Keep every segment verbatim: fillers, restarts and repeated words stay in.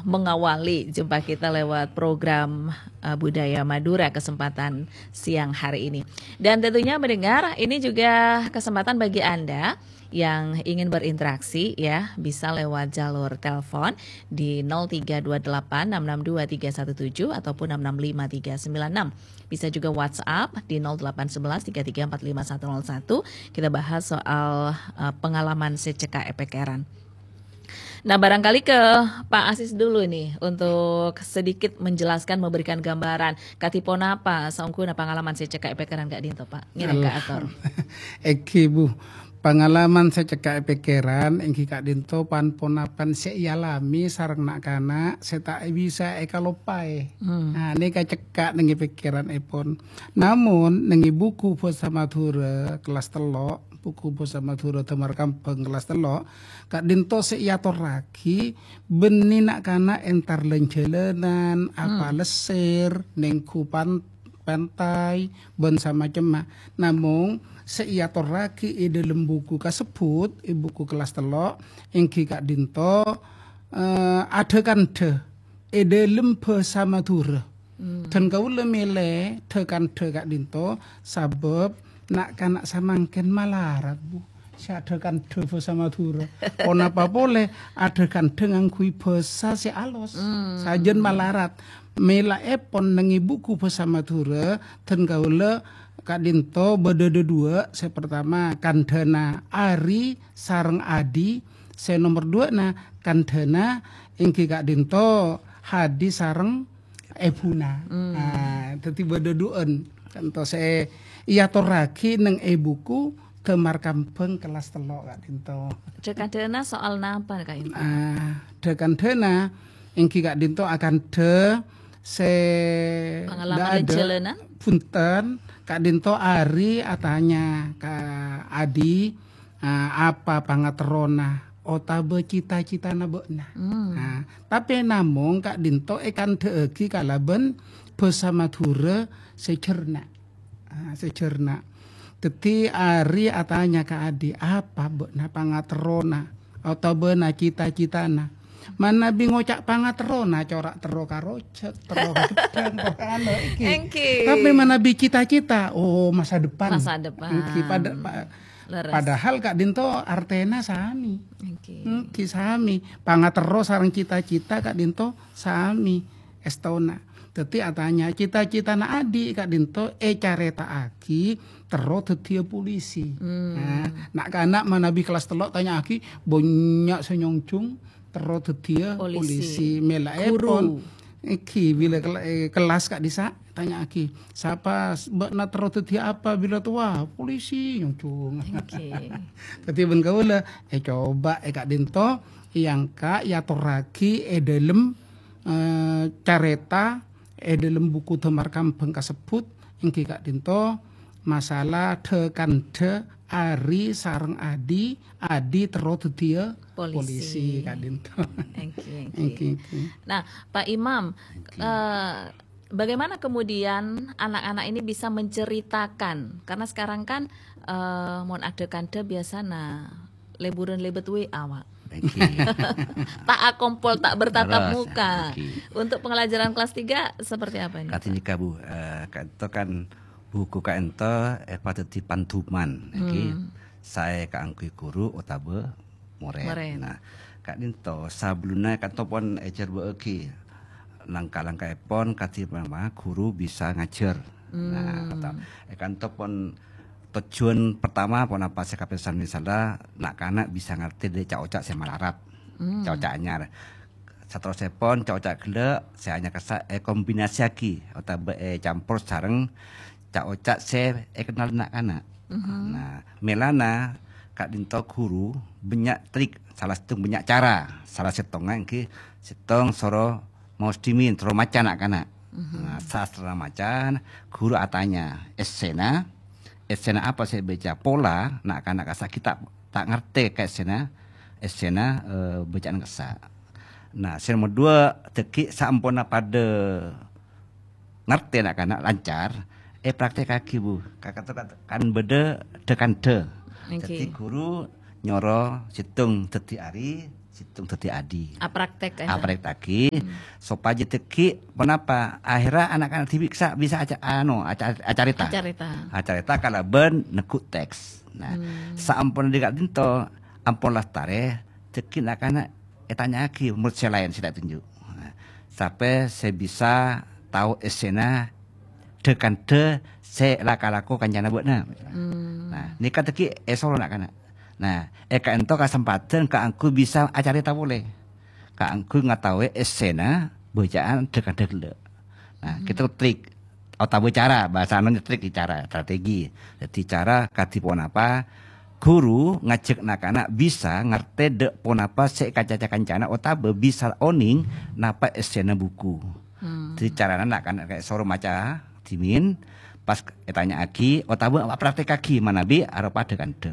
mengawali jumpa kita lewat program, eh, Budaya Madura kesempatan siang hari ini. Dan tentunya mendengar, ini juga kesempatan bagi Anda yang ingin berinteraksi ya, bisa lewat jalur telepon di nol tiga dua delapan enam enam dua tiga satu tujuh ataupun enam enam lima tiga sembilan enam. Bisa juga WhatsApp di nol delapan sebelas tiga tiga empat lima satu nol satu. Kita bahas soal, eh, pengalaman sè cekka' è pèkkèran. Nah, barangkali ke Pak Asis dulu nih untuk sedikit menjelaskan, memberikan gambaran. Kadhi ponapa saongghuna pangalaman sè cekka' è pèkkèran ka'dinto, Pak? Ngèrèng Al- kaator. Èngghi, Bu. Pangalaman sè cekka' è pèkkèran èngghi ka'dinto pan-ponapan sè èalami sareng na'-kana' sè ta' bisa èkaloppaè. Hmm. Nah, nèka cekka' neng è pèkkèranèpon. Namong, neng è buku bhâsa Madhurâ kellas tello', buku bhâsa Madhurâ Damar Kambhâng kellas tello', ka'dinto sè èatorraghi bânnè na'-kana' entar lan-jhâlânan, apa Hmm. lessèr, neng ghu pan-, pantai, bân samacemma. Namong, sè èatorraghi è dhâlem buku kasebbhut, è buku kellas tello', èngghi ka'dinto, eh, adhâ-kandhâ è dhâlem bhâsa Madhurâ. Hmm. Dan kaulâ mèlè dhâ-kandhâ ka'dinto sabâb na'-kana' samangkèn malarat, Bu. Sè adhâ-kandhâ bhâsa Madhurâ. Ponapa polè adhâ-kandhâ ngangghuy bhâsa sè alos. Hmm. Sajân malarat. Mèlaèpon neng è buku bhâsa Madhurâ, dan kaulâ ka'dinto bâdâ dhâduwâ', sè partama kandhâna Ari sareng Adi, sè nomer duwâ'na kandhâna èngghi ka'dinto Hadi sareng èbhuna. Hmm. Ah, dhâddhi bâdâ duwâ'ân. Ka'dinto sè èatorraghi neng è buku Damar Kambhâng kellas tello' ka'dinto. Dhâ-kandhâna soal napa, Kak Intan? Ah, dhâ-kandhâna èngghi ka'dinto akandhâ sè Pangalaman dhâ-, dhâ-, lan-jhâlânan? Bhunten, ka'dinto Ari atanya ka Adi, ah, apa pangaterrona otabâ cita-citana bâ'na. Hmm. Ah, tapè namong ka'dinto èkandhâ'aghi kalabân bhâsa Madhurâ sè jhârna. Ah, sè jhârna. Dhâddhi Ari atanya ka Adi, "Apa bâ'na pangaterrona otabâna cita-citana?" Manabi ngoca' pangaterrona, cora' terro ka rojhâk, terro ka gheddhâng, terro ka anu, èngghi. Èngghi. Tapè manabi cita-cita, oh, masa depan. Masa depan. Èngghi, pada-, pa-, Leres. Padahal ka'dinto artèna sami. Èngghi. Èngghi, sami. Pangaterro sareng cita-cita ka'dinto sami èstona. Dhâddhi atanya cita-citana Adi ka'dinto ècarèta'aghi terro dhâddhiyâ polisi. Hmm. Nah, na'-kana' manabi kellas tello' tanya'aghi, bânnya' sè nyonjhung terro dhâddhiyâ Polisi. Polisi. Mèlaèpon. Guru. Èngghi, bilâ kel-, eh, kellas ka'dissa', tanya'aghi, "Sapa s-, bâ'na terro dhâddhiyâ apa bilâ towa?" "Polisi," nyonjhung. Èngghi. Dhâddhi bân kaulâ, eh, coba, eh, ka'dinto, èangka', èatorraghi è dhâlem eh, carèta è dhâlem buku Damar Kambhâng kasebbhut, èngghi ka'dinto masalah dhâ-kandhâ Ari sareng Adi, Adi terro dhâddhiyâ Polisi. Polisi ka'dinto. Èngghi, èngghi. Èngghi, èngghi. Nah, Pak Imam, Èngghi. eh, bagaimana kemudian anak-anak ini bisa menceritakan? Karena sekarang kan, eh, mon adhâ-kandhâ biasana lèburân lèbât W A, Pak. Èngghi. Ta' akompol, ta' bertatap Terus, muka. Èngghi. Untuk pelajaran kelas tiga seperti apa ini, Pak? Kadhi nèka, Bu, eh, ka'dinto kan buku ka'dinto èpadhâddhi panduman, èngghi. Hmm. Saè kaangghuy ghuru otabâ morèd. Morèd. Nah, ka'dinto sabellunna ka'dinto pon èjhârbâ'âghi langka-langkaèpon kadhi manabi ghuru bisa ngajhâr. Nah, Hmm. ka'dinto, eh, ka'dinto pon tojjhuwân pertama ponapa sè kapèsan misalnya na'-kana' bisa ngartè dhâri ca'-oca' sè malarat, Hmm. ca'-oca' anyar. Saterrossèpon ca'-oca' ghellâ' sè anyar kassa' èkombinasiaghi otabâ ècampor sareng ca'-oca' sè èkennal na'-kana'. Mhm. Nah, mèlana ka'dinto ghuru bânnya' trik, sala sèttong bânnya' cara. Sala sèttongnga èngghi sèttong soro maos dhimèn, soro maca na'-kana'. Mhm. Nah, sastra maca, ghuru atanya, "Èssèna, èssèna apa sè èbâca?" Pola na'-kana' kassa' ghi' ta', ta' ngartè ka èssèna, èssèna, eh, bâcaan kassa'. Nah, sè nomer duwâ', dhâggi' saamponna padâ ngartè na'-kana' lancar, èpraktekaghi, Bu. Ka-, ka-, kan bâdâ dhâ-kandhâ. Oke. Dhâddhi ghuru nyoro sèttong dhâddhi Ari, sèttong dhâddhi adi. Apraktek, eh. Apraktekkaghi, hmm, sopajâ dhâggi' ponapa? Akhirnya anak-anak dhibi' bisa, bisa aca-, anu, aca-, acarèta. Acarèta. Acarèta kalabân neggu' teks. Nah, hmm, saamponna dhika' dinto, ampon lastarè, dhâggi' na'-kana' ètanya'aghi murid sè laèn sè ta' ètonjhu'. Nah, sapè sè bisa tao èssèna dhâ-kandhâ sè la-, kalako kancana bâ'na. Hmm. Nah, nèka dhâggi' èsoro na'-kana'. Nah, è ka'ènto kasempadhân kaangghuy bisa acarèta polè. Kaangghuy ngataowè èssèna bâca'an dhâ-kandhâ ghellâ'. Nah, hmm, kèto trik otabâ cara, bahasana trik, cara, strategi. Dhâddhi cara kadhi ponapa ghuru ngajhâk na'-kana' bisa ngartè dhâ' ponapa sè èkacaca kancana otabâ bisa onèng napa èssèna buku. Hmm. Dhâddhi carana na'-kana' kaè soro maca dhimèn, pas ètanya'aghi otabâ apraktekkaghi manabi aropa dhâ-kandhâ.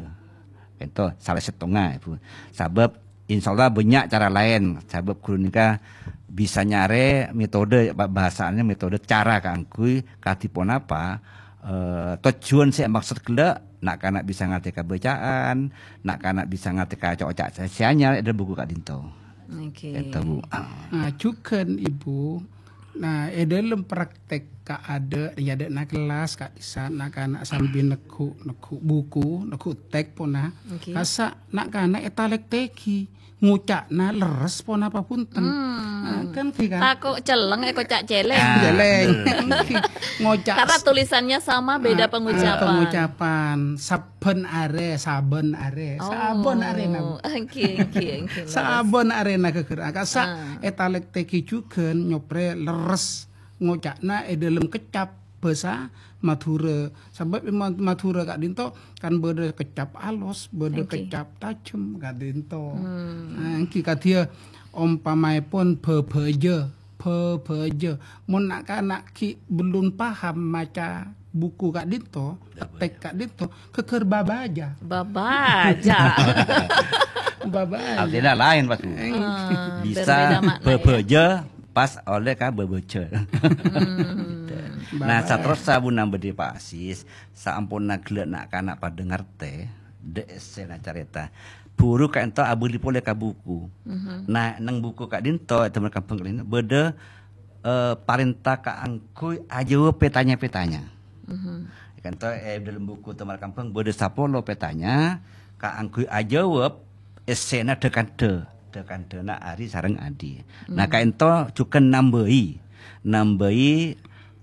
Ka'ènto sala sèttongnga, Bu. Sabâb insyaallah bânnya' cara laèn. Sabâb ghuru nèka bisa nyarè metode, ba-, bahasana metode cara kaangghuy kadhi ponapa, eh, tojjhuwân sè èmaksod ghellâ', na'-kana' bisa ngartè kabâcaan, na'-kana' bisa ngartè kaca-oca sè anyar è dhâlem buku ka'dinto. Oke. Ka'ènto, Bu. Nah, jhughân, Ibu, nah, è dhâlem praktek kaadâ', è adâ'na kellas, ka'dissa' na'-kana' sambi neggu', neggu' buku, neggu' teks pona. Oke. Kassa' na'-kana' ètalèktèghi, ngoca'na lerres ponapa bhunten. Hmm. Nah, kan ghi kan? Tako' celleng èkoca' cèlèng. Ah, cèlèng. Betul. Ngoca' Karena s-, tulisannya sama, beda ah, ah, pengucapan. Pengucapan. Sab-, Bân arè, sabân arè, sabân arè, na. Oh, oke, oke, oke, leres. Sabân arè, na, ghâghâr. Kassa' Ah. ètalèktèghi jhughân nyoprè lerres ngoca'na è dhâlem keccap bhâsa Madhurâ. Sabâb è Ma-, Madhurâ ka'dinto kan bâdâ keccap alos, bâdâ Oke. keccap tajem ka'dinto. Hmm. Nah, èngghi kadhiyâ ompamaèpon bhâbhâjâ. Bhâbhâjâ. Mon na'-kana' ghi' bellun paham maca buku ka'dinto, teks ka'dinto, ghâghâr babâjâ. Babâjâ. Babâjâ. Artinya lain, Mas. Eh. Ah, Bisa berbeda makna, ya. bhâbhâjâ pas ollè ka bhâbhâjâ. Hmm. Nah, Babâjâ. Saterrossa bhunten bâdhi Pak Asis, saamponna ghellâ' na'-kana' padâ ngartè, dhâ' èssèna carèta. Buru ka'dinto abâli polè ka buku. Mhm. Nah, neng buku ka'dinto, è Taman Kembang ka'dinto, bâdâ, eh, parènta kaangghuy ajâwâb pètanya-pètanya. Mhm. Ka'dinto, è dhâlem buku Taman Kembang bâdâ sapolo pètanya kaangghuy ajâwâb èssèna dhâ-kandhâ. Dhâ-kandhâna Ari sareng Adi. Nah, Hmm. ka'dinto jhughân nambâi. Nambâi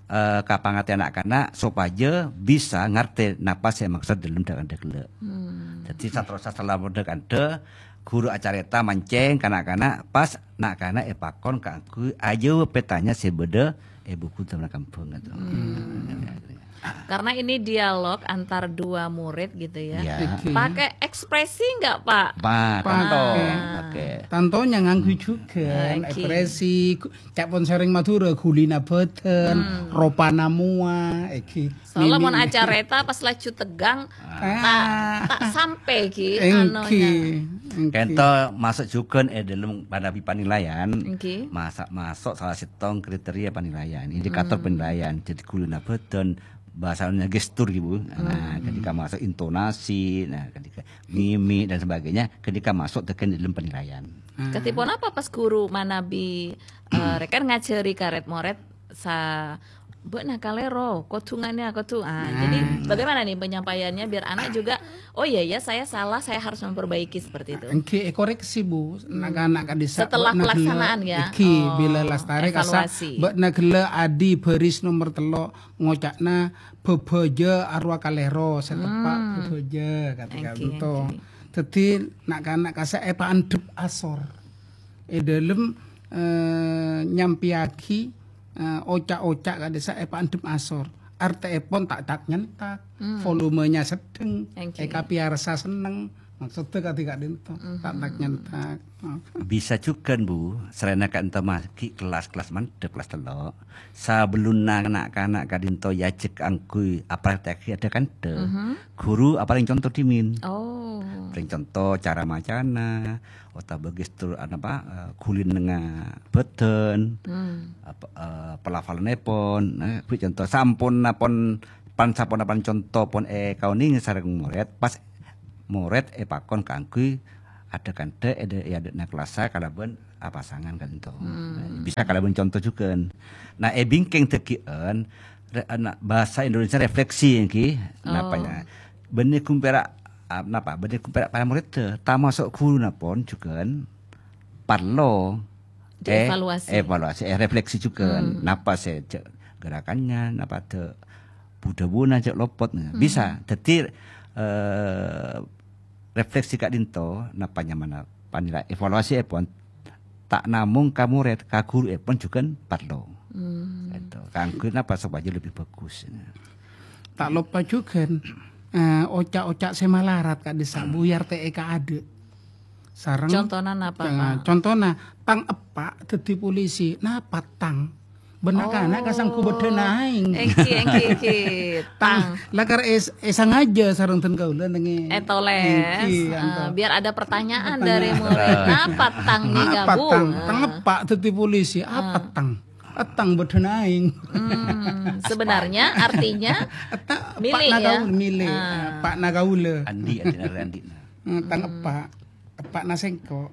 eh, kapangartèyan na'-kana' sopajâ bisa ngartè napa sè èmaksod dhâlem dhâ-kandhâ ghellâ'. Hmm. Dhâddhi, saterrossa salama dhâ-kandhâ, ghuru acarèta mancèng ka na'-kana', pas na'-kana' èpakon kaangghuy ajâwâb pètanya sè bâdâ è buku Taman Kembang, gitu. Hmm. Karena ini dialog antar dua murid gitu ya. Ya. Oke. Pakai ekspresi nggak, Pak? Pak, Pakai. tanto. Oke. Tantonya ngangghuy jhughân, Oke. ekspresi, gu-, Ca'èpon sareng Madhurâ, ghulina bâdân, Hmm. ropana mowa, èngghi. Soalnya mon Mimi. acarèta pas laju tegang, Ah. ta', ta' sampè' ghi, Èngghi, anonya. èngghi. Ka'dinto maso' jhughân è dhâlem manabi panilaian, Èngghi. masa-, maso' sala sèttong kriteria panilaian, indikator Hmm. panilaian. Dhâddhi ghulina bâdân, bhâsana gestur, ghi, Bu. Nah, Hmm. ketika maso' intonasi, nah, ketika mimik dan sebagainya, ketika maso' tekan dalam penilaian. Hmm. Kadhi ponapa pas ghuru manabi, eh, rèkan ngajhâri ka rèd-morèd sa-, "Bâ'na kalèro, kodhu ngènè, kodhu." Ah, Nah. jadi bagaimana nih penyampaiannya biar anak juga, "Oh iya, ya, saya salah, saya harus memperbaiki," seperti itu? Èngghi èkoreksi, Bu. Hmm. Na'-kana' ka'dissa' Setelah bâ'na pelaksanaan, ghellâ', ya? èngghi, Oh, bilâ lastarè kassa', evaluasi. bâ'na ghellâ' Adi bâris nomer tello', ngoca'na bhâbhâjâ arowa kalèro, sè teppa' Hmm. bhâbhâjâ, kadhi Èngghi, ka'dinto. èngghi. Dhâddhi, na'-kana' kassa' èpaandhep asor. È dhâlem, eh, nyampèyaghi, eh, oca'-oca' ka'dissa' èpaandhep asor. Artèèpon ta'-ta' nyentak, Hmm. volumenya sedheng, Èngghi. èkapèyarsa senneng. Maksodda kadhi ka'dinto, Mhm. ta'-ta' nyentak. Bisa jhughân, Bu, sarèna ka'dinto ma-, ghi' kellas-kellas mandhâp, kellas tello'. Sabellunna na'-kana' ka'dinto èajhâk kaangghuy apraktekkaghi dhâ-kandhâ, Mhm. ghuru aparèng conto dhimèn. Oh. Aparèng conto cara macana, otabâ gestur, anapa, eh, ghulina bâdân, Hmm. apa, eh, pelafalanèpon, eh, bi' conto samponna pon, pan-, samponna pan conto pon èkaonèngè sareng morèd, pas morèd èpakon kaangghuy adhâ-kandhâ è dâ-, è adâ'na kelassa kalabân apasangan ka'dinto. Hmm. Bisa kalabân conto jhughân. Nah, è bingkèng dhâggi'ân, re-, na-, bahasa Indonesia refleksi èngghi, napa Oh. ya? Bânnè ghun pèra', ah, napa? Bânnè ghun pèra' para morèddhâ, tamaso' ghuruna pon jhughân parlo, eh, Dievaluasi. evaluasi, eh, refleksi jhughân. Hmm. Napa sè jhâ' gerakannya, napa dâ-, bu-dhâbuna jhâ' lopot. Hmm. Bisa. Dhâddhi, eh, refleksi ka'dinto, napa nyamana panilai evaluasièpon, ta' namong ka morèd, ka ghuruèpon jhughân parlo. Hmm. Gitu. Kaangghuy napa? Sopajâ lebbi bhâghus. Ta' loppa jhughân, eh, oca'-oca' sè malarat ka'dissa' bhuyar te'è ka adâ'. Sareng Contona napa, eh, Pak? Contona, tang eppa' dhâddhi polisi. Napa tang? Bân na'-kana' Oh. kasanggu bâdhâna aèng. Èngghi, èngghi, èngghi. Tang, Tang. lakar es-, èsangajâ sareng dân kaulâ nèngè. Ètoles. Èngghi, Eh, anto. biar ada pertanyaan Pertanyaan. dari murid. Napa tang nèka, Apa Bu? tang? Tang Ah. eppa' dhâddhi polisi. Apa Ah. tang? Etang bâdhâna aèng. Hmm, sebenarnya artinya Etta milik, eppa' na ya? kaulâ, milik. Ah. Eppa' na kaulâ. Andi', andi', andi'. Hmm, tang Hmm. eppa'. Eppa'na sèngko'.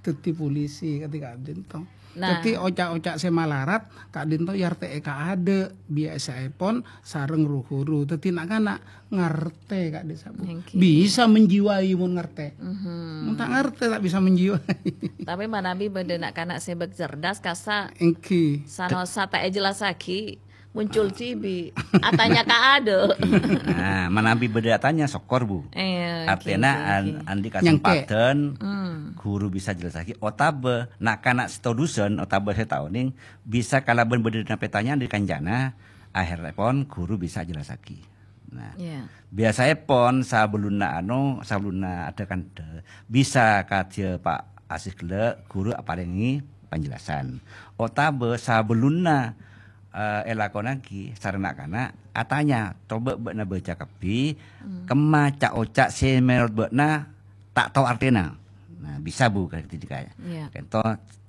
Dhâddhi polisi kadhi ka'dinto. Nah. Dhâddhi oca'-oca' sè malarat ka'dinto èyartè'è ka adâ', biyasaèpon sareng ru-ghuru. Dhâddhi na'-kana' ngartè ka'dissa', Bu. Èngghi. Bisa menjiwai mon ngartè. Mhm. Mon ta' ngartè, ta' bisa menjiwai. Tapè manabi bâdâ na'-kana' sè bâk cerdas, kassa' Èngghi. sanosa ta' èjellassaghi, muncul dhibi'. Atanya ka adâ'. Nah, manabi bâdâ atanya, sokor, Bu. Iya, Artèna èngghi, an-, èngghi. andi' Nyangkè'. kasempadhân Hmm. ghuru bisa jellassaghi, otabâ na'-kana' sè todusân, otabâ sè ta' onèng, bisa kalabân bâdâ napètanya dâri kancana, aherrèpon ghuru bisa jellassaghi. Nah, Iya. biyasaèpon sabellunna anu, sabellunna adâ-kandhâ, bisa kadhiyâ Pak Asis ghellâ', ghuru aparèngè panjelasan. Otabâ sabellunna, eh, èlakonaghi sareng na'-kana', atanya, "Coba bâ'na baca kabbhi, Hmm. kemma ca'-oca' sè mènorot bâ'na ta' tao artèna." Nah, bisa, Bu, kadhi kaya. Iya. Kento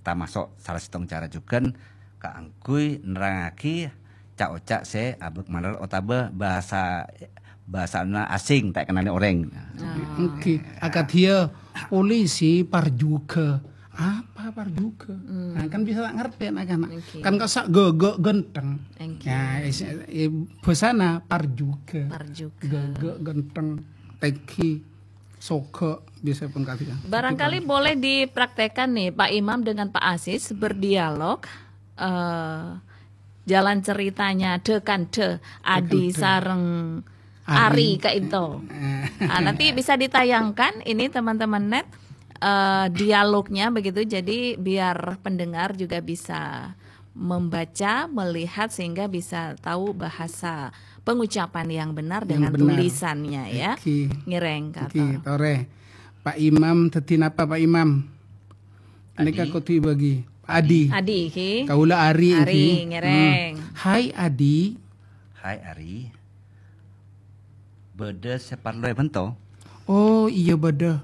tamaso' sala sèttong cara jhughân kaangghuy nerrangngaghi ca'-oca' sè abâk malar otabâ bhâsa, bhâsana asing, ta' èkennalè orèng. Ah. Èngghi, akadhiyâ polisi parjhughâ. Apa parjhughâ? Hmm. Nah, kan bisa ta' ngartè na'-kana'. Èngghi. Kan kassa' ghâghâ ghântheng. Èngghi. Ya, is-, eh, bhâsana parjhughâ. Parjhughâ. Ghâghâ ghântheng, tèngghi. Soghâ biasanya pun kadhi, kan. Barangkali Kadhi, kan. boleh dipraktekkan nih, Pak Imam dengan Pak Asis berdialog, eh, jalan ceritanya dhâ-kandhâ Adi Dhâ-kandhâ. sareng Ari. Ari ka'dinto. Eh. Ah, nanti bisa ditayangkan ini, teman-teman net, eh, dialognya begitu. Jadi biar pendengar juga bisa membaca, melihat, sehingga bisa tahu bahasa pengucapan yang benar Yang dengan benar. tulisannya, ya. Èngghi. Ngèrèng, Èngghi, kato. torè. Pak Imam, dhâddhi napa, Pak Imam? Nèka Adi. kodhu èbâgi. Adi. Adi, èngghi. Kaulâ Ari, Ari, èngghi. ngèrèng. Hmm. Hai, Adi. Hai, Ari. Bâdâ sè parlo èbhânto? Oh, iyâ bâdâ.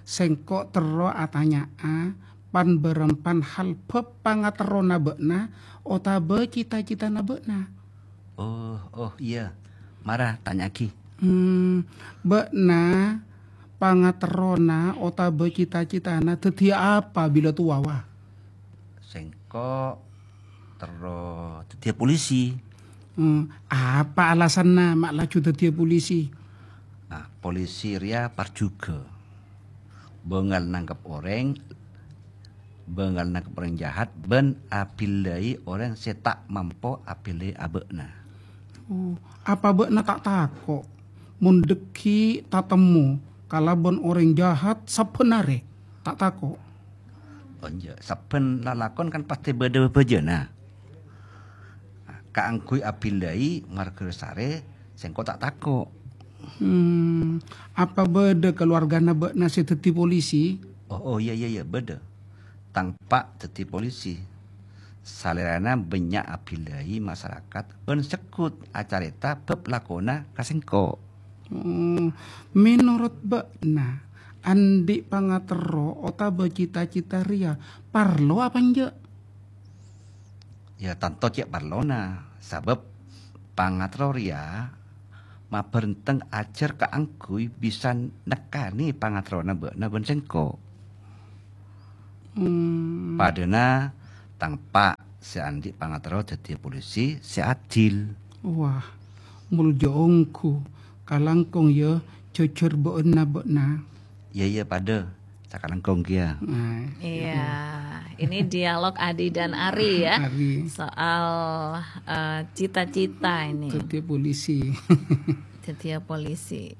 Sèngko' terro atanya'a pan-bârâmpan hal bhâb pangaterrona bâ'na otabâ cita-citana bâ'na. Oh, oh, iyâ. Mara, tanya'aghi. Hmm, bâ'na pangaterrona otabâ cita-citana dhâddhiyâ apa bilâ towa, wa? Sèngko' terro dhâddhiyâ polisi. Hmm, apa alasanna ma' laju dhâddhiyâ polisi? Nah, polisi rèya parjhughâ. Bângal nangkep orèng, bângal nangkep orèng jahat, bân abillai orèng sè ta' mampo abillai abâ'na. Oh, apa bâ'na ta' tako' mon dhâggi' tatemmo kalabân orèng jahat sabbhân arè? Ta' tako'? Oh, enjâ'. Sabbhân lalakon kan pastè bâdâ bâbâjâna. Kaangghuy abillai marghâ sarè, sèngko' ta' tako'. Hmm, apa bâdâ kaluwargana bâ'na sè dhâddhi polisi? Oh, oh, iyâ, iyâ, iyâ, bâdâ. Tang eppa' dhâddhi polisi. Salèrana bânnya' abillai masarakat bân segghut acarèta bhâb lakona ka sèngko'. Oh, mènorot bâ'na, andi' pangaterro otabâ cita-cita rèya parlo apa enjâ'? Ya, tanto cè' parlona, sabâb pangaterro rèya Mabârenteng ajhâr kaangghuy bisa nekkanè pangaterrona bâ'na bân sèngko'. Hmm. Padâna tang eppa' sè andi' pangaterro dhâddhiyâ polisi sè adil. Wah, molja ongghu. Kalangkong, yâ, jhujhur bâ'na, bâ'na. Iyâ, iyâ, padâ. Sakalangkong kèya. Nah, Iya, ini dialog Adi dan Ari ya. Ari. Soal eh, cita-cita ini. Dhâddhiyâ polisi. Dhâddhiyâ polisi.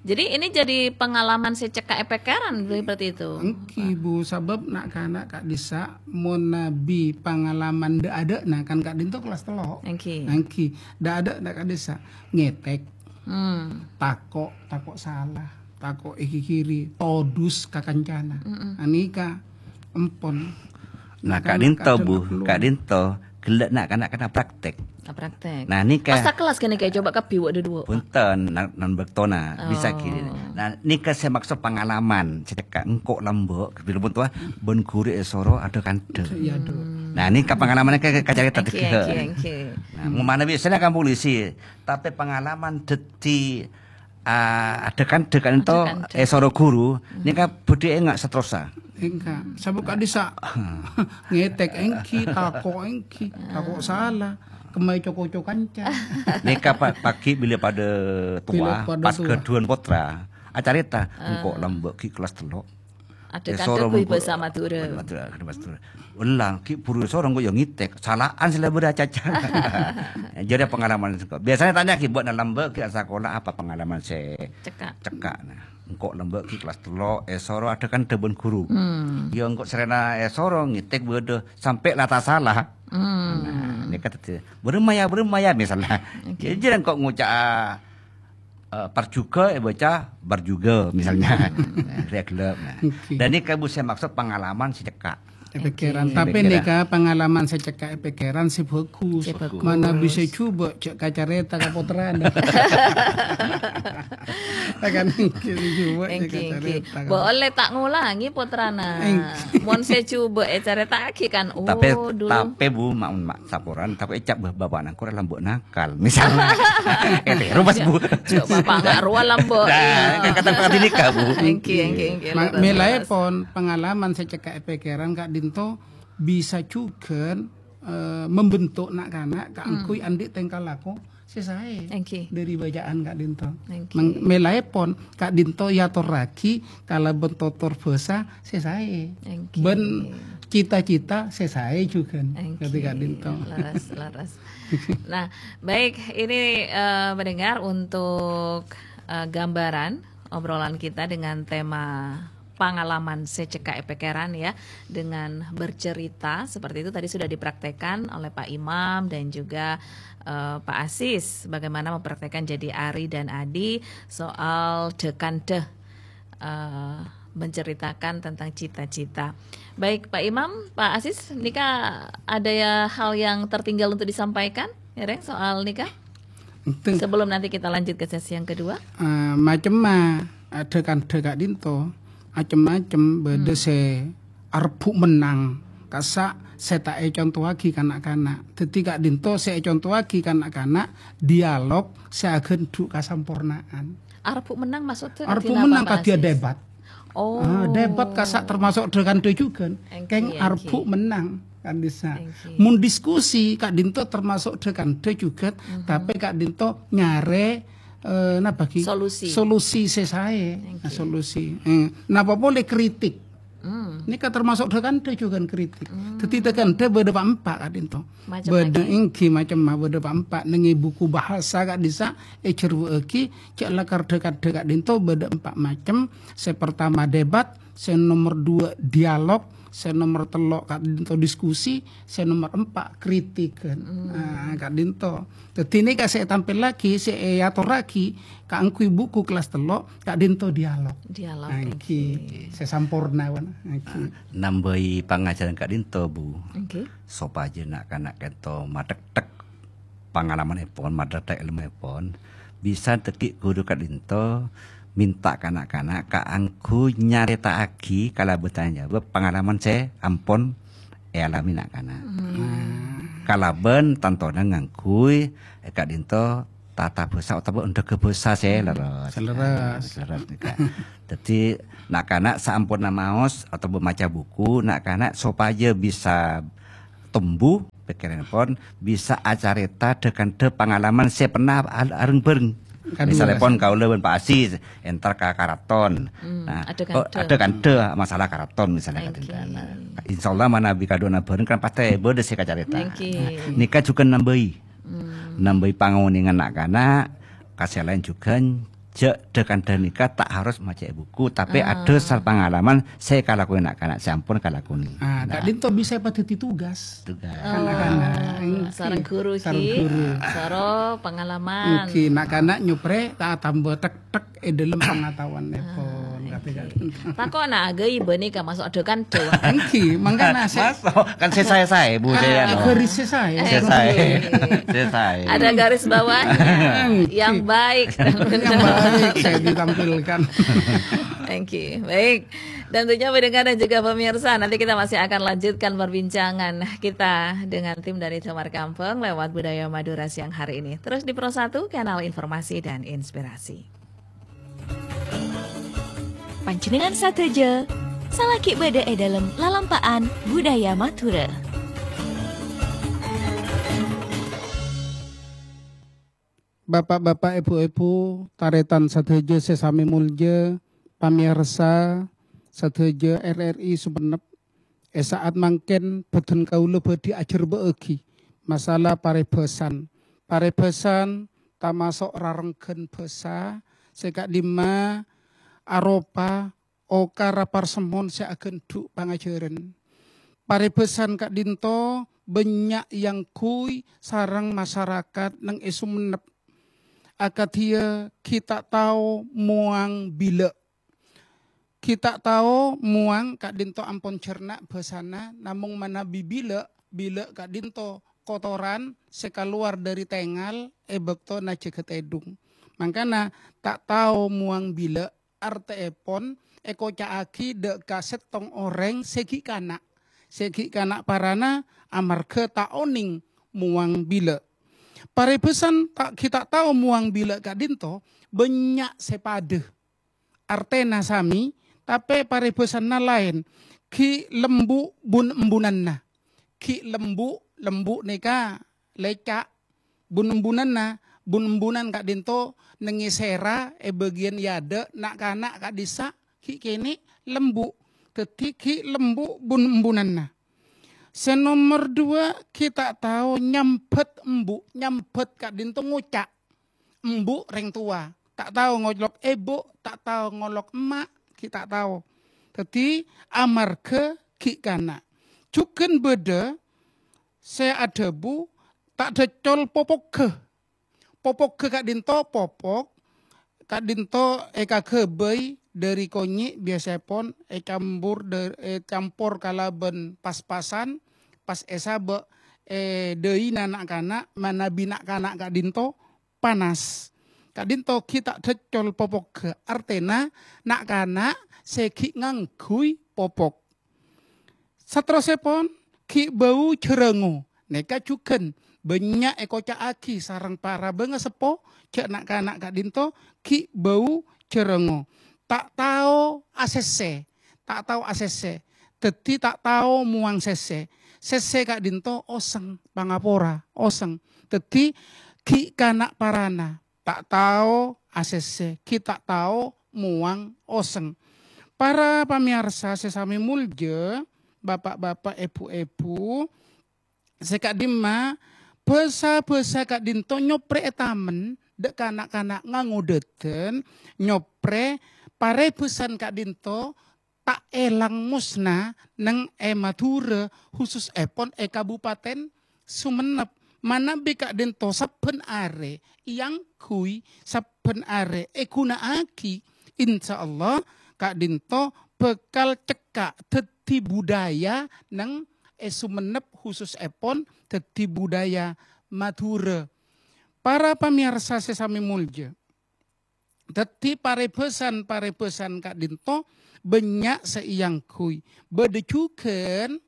Jadi ini jadi pengalaman sè cekka' è pèkkèran, berarti itu. Èngghi, Bu, sabâb na'-kana' ka'dissa' mon nabi pangalaman dâ'-adâ'na kan ka'dinto kellas tello'. Èngghi. Èngghi, dâ'-adâ'na ka'dissa' ngètèk, Hmm. tako', tako' sala, tako' èghighiri, todus ka kancana. Mm-mm. Anèka empon. Nah, Na'-kana' ka'dinto, ka'dinto Bu, perlu. Ka'dinto ghellâ' na'-kana' kèna praktek. Ah, praktek. Nah, nèka Pas sakellas kènè kaè coba kabbhi wâ' dâduwâ. Bhunten, nan, nan bâktona, bisa Oh. gini. Nah, nèka sè maksod pangalaman, sè cekka' engko' lambâ', bilâ bhunten, bân ghuru èsoro adâ-kandhâ. Iya, Dok. Nah, nèka pangalaman ka, ka, kacarèta Èngghi, dâgghi'. Èngghi, èngghi. Nah, manabi sèna kan polisi, tapè pangalaman dhâddhi, ah, adâ-kandhâ ka'dinto Adâ-kandhâ. èsoro ghuru, nèka bhâdhi enga' saterrossa. Enggak, sabâb ka'dissa' ngètèk èngghi, tako' èngghi, tako' sala, kemmaè co-koco kanca. Nèka pa-, paghi' bilâ padâ Bilâ towa, padâ pas towa. ghâdhuwân pottra, acarèta, engko' lambâ' ghi' kellas tello'. Adâ-kandhâ Èsoro ghâbây mengko-, bhâsa Madhurâ. Madhurâ, ghâbây bhâsa Madhurâ. Ella, ghi' buru èsoro engko' ya ngètèk. Sala'an sè la bâdâ acaca. Jârèya pangalaman sèngko'. Biasanya tanya ghi', "Bâ'na lambâ' ghi' asakola apa pangalaman sè Cekka'. cekka'?" Nah, engko' lambâ' ghi' kellas tello', èsoro adâ-kandhâ bân ghuru. Hmm. Ya engko' sarèna èsoro ngètèk bâdâ sampè' la ta' sala. Hmm. Nah, nèka dhâddhi, "Bârâmma ya, bârâmma ya," misalnya. Oke. Ya, jârèya engko' ngoca', eh, parjuga èbâca barjuga, misalnya. Hmm. Nah, rèya ghellâ', nah. Oke. Dan nèka Bu sè maksod pangalaman sè cekka'. È pèkkèran. Oke. Tapè Pèkkèran. nèka pangalaman sè cekka' è pèkkèran sè bhâghus. Sè bhâghus. Manabi sè jhubâ' jhâ' kacarèta ka pottrana. Kan èngghi sè jhubâ' jhâ' Èngghi, èngghi. kacarèta ka Bo' ollè ta' ngolangè pottrana. Èngghi. Mon sè jhubâ' ècarèta'aghi kan, Tapè, oh, dulu. tapè Bu, ma', ma', saporana, tapè ècap bâ-, bapa'na engko' rèya lambâ' nakal, misalnya. Eh, terro pas, Bu. Jhâ' bapa' nga' rowa lambâ'. Nah, Iya. kata-kata nèka, Bu. Èngghi, èngghi, èngghi. Ma-, Leres, leres. melaèpon pangalaman sè cekka' è pèkkèran ka'dinto bisa jhughân, eh, membentuk na'-kana' kaangghuy Hmm. andi' tèngka lako sè saè Èngghi. dâri bâca'an ka'dinto. Èngghi. Meng-, melaèpon ka'dinto èatorraghi kalabân totor bhâsa sè saè. Èngghi. Bân cita-cita sè saè jhughân. Èngghi. Kadhi ka'dinto. Leres, leres. Nah, baik, ini, eh, pendengar, untuk, eh, gambaran obrolan kita dengan tema pangalaman sè cekka' è pèkkèran, ya, dengan bercerita seperti itu tadi sudah dipraktekkan oleh Pak Imam dan juga, eh, Pak Asis, bagaimana mempraktekkan jadi Ari dan Adi soal dhâ-kandhâ, eh, menceritakan tentang cita-cita. Baik, Pak Imam, Pak Asis, nèka ada ya hal yang tertinggal untuk disampaikan, ya, Reng, soal nèka? Enten. Sebelum nanti kita lanjut ke sesi yang kedua. Eh, macemma, eh, dhâ-kandhâ ka'dinto, macem-macem, bâdâ Hmm. sè arebbhu' mennang, kassa' sè ta' ècontowaghi ka na'-kana'. Dhâddhi ka'dinto sè ècontowaghi ka na'-kana' dialog sè aghândhu' kasampornaan. Arebbhu' mennang maksudnya Arebbhu' kadhi napa, mennang Pak kadhi Asis? debat. Oh. Ah, debat kassa' termasuk dhâ-kandhâ jhughân. Èngghi, Kèng èngghi. arebbhu' mennang ka'dissa'. Èngghi. Mon diskusi ka'dinto termasuk dhâ-kandhâ jhughân, Mhm. tapè ka'dinto nyarè, eh, napa ghi? Solusi. Solusi sè saè. Èngghi. Nah, solusi. Eh, napa polè kritik? Hmm. Nèka termasuk dhâ-kandhâ jhughân kritik. Hmm. Dhâddhi dhâ-kandhâ bâdâ pa'-empa' ka'dinto. Macem Bâdâ lagi. èngghi macemma bâdâ pa'-empa'. Neng è buku bahasa ka'dissa' èjhârbâ'âghi, jhâ' lakar dhâ-kandhâ ka'dinto bâdâ empa' macem. Sè partama debat, sè nomor dua dialog, sè nomor tello' ka'dinto diskusi, sè nomor empa' kritik. Hmm. Nah, ka'dinto. Dhâddhi nèka sè ètampellaghi, sè èatorraghi kaangghuy buku kellas tello', ka'dinto dialog. Dialog, Èngghi. èngghi. Sè samporna, wan. Èngghi. Nambâi pangajhârân ka'dinto, Bu. Èngghi. Sopajâ na'-kana' ka'dinto mathèkthèk pangalamanèpon, mathèkthèk èlmoèpon, bisa dhâggi' ghuru ka'dinto mènta ka na'-kana' kaangghuy nyarèta'aghi kalabân tanya jawab pangalaman sè ampon èalamè na'-kana'. Hmm. Kalabân tantona ngangghuy ka'dinto tata bhâsa otabâ endhâghâ bhâsa sè lerres. Sè lerres. Nah, sè lerres nèka. Dhâddhi, na'-kana' saamponna maos otabâ maca buku, na'-kana' sopajâ bisa tombu pèkkèranèpon, bisa acarèta dhâ-kandhâ pangalaman sè pernah al-, areng-bhâreng. Kadhuwâ. Misalèpon kaulâ bân Pa' Aziz, entar ka karaton. Hmm, nah, adhâ-kandhâ. Oh, adhâ-kandhâ masalah karaton misalnya. Oke. Kadhâddhiyân. Nah, insyaallah manabi kadu'âna bhâreng kan pastè bâdâ sè kacarèta. Oke. Nah, nèka jhughân nambâi. Hmm. Nambâi pangonèngan na'-kana', ka sè laèn jhughân jhâ' dhâ-kandhâ nèka ta' harus maca è buku, tapè Ah. adhâsar pangalaman sè èkalakonè na'-kana' sè ampon èkalakonè. Ah, Nah. ka'dinto bisa èpadhâddhi tugas. Tugas. Oh, Anak-anak. Èngghi. sareng guru Sareng ghi. guru. Soro pengalaman. Èngghi, na'-kana' nyoprè ta-, tambâ tek-tek è dâlem pangataowanèpon. Ah, Kata èngghi. Takona, ghâibâ nèka maso' adhâ-kandhâ. Èngghi, mangkana sè Maso', kan sè saè-saè, Bu, Ah, Jayan. garis sè saè. Sè saè. Èngghi. Sè saè. Ada garis bawahnya. Èngghi. Yang baik. Yang baik saya ditampilkan. Oke, baik. Dan tentunya pendengar dan juga pemirsa, nanti kita masih akan lanjutkan perbincangan kita dengan tim dari Semar Kampung lewat Budaya Madura siang hari ini. Terus di Pro satu, kanal informasi dan inspirasi. Panjhennengngan sadhâjâ, salaghi bâdâ è dâlem lalampa'an budaya Madhurâ. Bapa'-bapa', èbhu-èbhu, tarètan sadhâjâ sè samè molja, pamèyarsa sadhâjâ R R I Sumenep, è sa'at mangkèn bhâdhân kaulâ bhâdhi ajhârbâ'âghi masalah parèbhâsan. Parèbhâsan tamaso' rarengghân bhâsa sè ka'dimma aropa okara parsemmon sè aghândhu' pangajhârân. Parèbhâsan ka'dinto bânnya' èangghuy sareng masarakat neng è Sumenep. Akadhiyâ ghi' ta' tao mowang bilâ'. Ghi' ta' tao mowang ka'dinto ampon jhârna' bhâsana, namong manabi bilâ', bilâ' ka'dinto kotoran sè kalowar dâri tèngal è bâkto najâgâ tèdung. Mangkana ta' tao mowang bilâ', artèèpon èkoca'aghi dâ' ka sèttong orèng sè ghi' kana', sè ghi' kana' parana amarghâ ta' onèng mowang bilâ'. Parèbhâsan ta-, ghi' ta' tao mowang bilâ' ka'dinto bânnya' sè padâ. Artèna samè, tapè parèbhâsanna laèn. Ghi' lembu' bun-embunanna. Ghi' lembu', lembu' nèka lèca'. Bun-embunanna, bun-embunan ka'dinto neng è sèra è bâgiyân è adâ', na'-kana' ka'dissa' ghi' kènè' lembu'. Dhâddhi ghi' lembu' bun-embunanna. Sè nomer duwâ', ghi' ta' tao nyambhât embu', nyambhât ka'dinto ngoca'. Embu' rèng towa, ta' tao ngolok èbhu', ta' tao ngolok emma', ghi' ta' tao. Dhâddhi amarghâ ghi' kana'. Jhughân bâdâ sè adhâbu, ta' dâccol popogghâ. Popogghâ ka'dinto popok, ka'dinto èkaghâbây dâri konyè', biyasèpon ècampor dâ-, ècampor kalabân pas-pasan, pas èsabâ' è dâina na'-kana', manabi na'-kana' ka'dinto panas. Ka'dinto ghi' ta' dâccol popogghâ, artèna na'-kana' sè ghi' ngangghuy popok. Saterrossèpon, ghi' bâu jhârângo. Nèka jhughân bânnya' èkoca'aghi sareng para bângaseppo, jhâ' na'-kana' ka'dinto ghi' bâu jhârângo. Ta' tao asèssè, ta' tao asèssè. Dhâddhi ta' tao mowang sèssè. Sèssè ka'dinto osèng, pangapora, osèng. Dhâddhi ghi' kana' parana. Ta' tao asèssè, ghi' ta' tao mowang osèng. Para pamèyarsa sè samè molja, bapa'-bapa', èbhu-èbhu, sè ka'dimma bhâsa-bhâsa ka'dinto nyoprè è tamen dâ' kana'-kana' ngangodâdân, nyoprè parèbhâsan ka'dinto ta' èlang mosna neng è Madhurâ, hususèpon è Kabupaten Sumenep. Manabi ka'dinto sabbhân arè èangghuy, sabbhân arè èghuna'aghi, insyaallah ka'dinto bhâkal cekka' dhâddhi budaya neng è Sumenep, hususèpon dhâddhi budaya Madhurâ. Para pamèyarsa sè samè molja, Dhâddhi, parèbhâsan-parèbhâsan ka'dinto bânnya' sè èangghuy. Bâdâ jhughân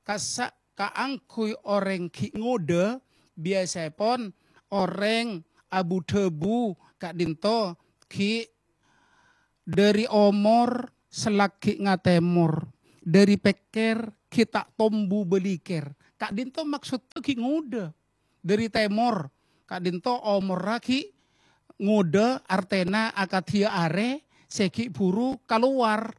kassa' kaangghuy orèng ghi' ngodâ, biyasèpon orèng abu-dhâbu ka'dhinto ghi' dhâri omor sè laghi' ngatemor, dhâri pèkkèr ghi' ta' tombu bâlikèr. Ka'dhinto maksodda ghi' ngodâ dhâri tèmor, ka'dhinto omorra ghi' ngodâ, artèna akadhiyâ arè sè ghi' bhuru kalowar.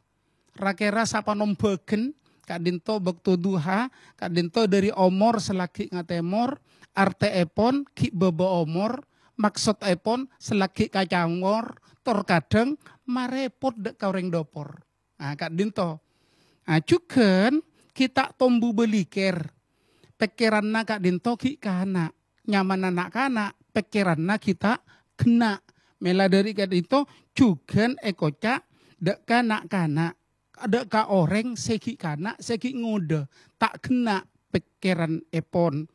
Ra-kèra sapanom bâgân, ka'dhinto bâkto duha, ka'dhinto dhâri omor sè laghi' ngatemor, artèèpon ghi' bâbâ omor, maksodèpon sè laghi' kacamor, tor kadhâng marèpot dhâ' ka orèng dhâpor. Ah, ka'dhinto. Ah, jhughân ghi' ta' tombu bâlikèr. Pèkkèranna ka'dhinto ghi' kana'. Nyamana na'-kana', pèkkèranna ghi' ta' ghenna'. Mèla dhâri ka'dhinto jhughân èkoca' dhâ' ka na'-kana', dhâ' ka orèng sè ghi' kana', sè ghi' ngodâ, ta' ghenna' pèkkèranèpon.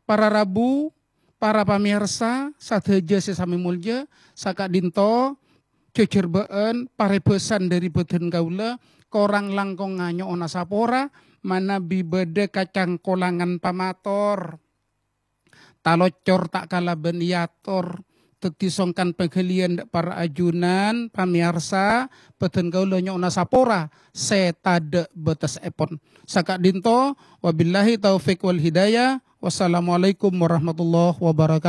Para rabu, para pamèyarsa sadhâjâ sè samè molja, saka'dhinto jhâjhârbâ'ân parèbâsan dhâri bhâdhân kaulâ, korang langkongnga nyo'ona sapora, manabi bâdâ kacangkolangan pamator. Talocor ta' kalabân èyator, dhâddhi songkan pagghâliyân dhâ' para ajunan, pamèyarsa, bhâdhân kaulâ nyo'ona sapora sè tadâ' bâtessèpon. Saka'dhinto, wabillahi taufiq wal hidayah. Wassalamualaikum warahmatullahi wabarakatuh.